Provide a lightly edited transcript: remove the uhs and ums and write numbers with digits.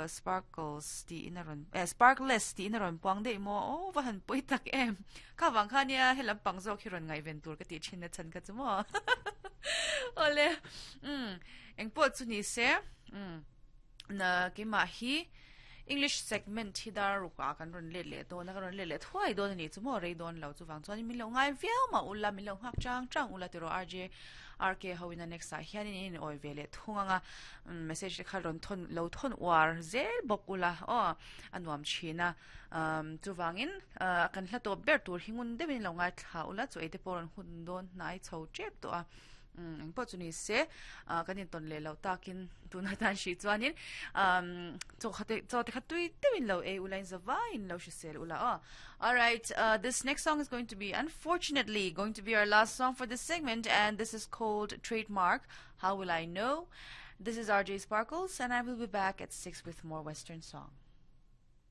Sparkles tiin a rawn eh Sparkless tiin a rawn puang daih maw aw va han pawi tak em kha vang kha nia he lampang zawk hi rawn ngaihven tur ka tih thin na chhan kha chu maw awle umm engpawh chu ni se umm na keimah hi English segment hi dar ruk ah kan rawn let leh dawn a kan rawn let leh thuai dawn a nih chu maw rei dawn lo chuvang chuan min lo ngai viau mah ula min lo nghak chang chang ula tiraw RJ RK ho in a next ah hian in in awi ve leh thung ang a message te kha rawn thawn lo thawn uar zel bawk ula aw a nuam thin a umm chuvangin ah kan hla tawp ber tur hi ngun deuhin lo ngaithla ula chu ei te pawh rawn hun dawn hnai chho tep tawh a umm engpawh chu ni se ah kan intawn leh loh takin tuna tan hrih chuanin umm chaw kha te chaw te kha tui deuhin lo ei ula in zavaiin lo hrisel ula aw alright ah this next song is going to be unfortunately going to be our last song for this segment and this is called trademark how will I know this is R_J Sparkles and I will be back at 6 with more western song.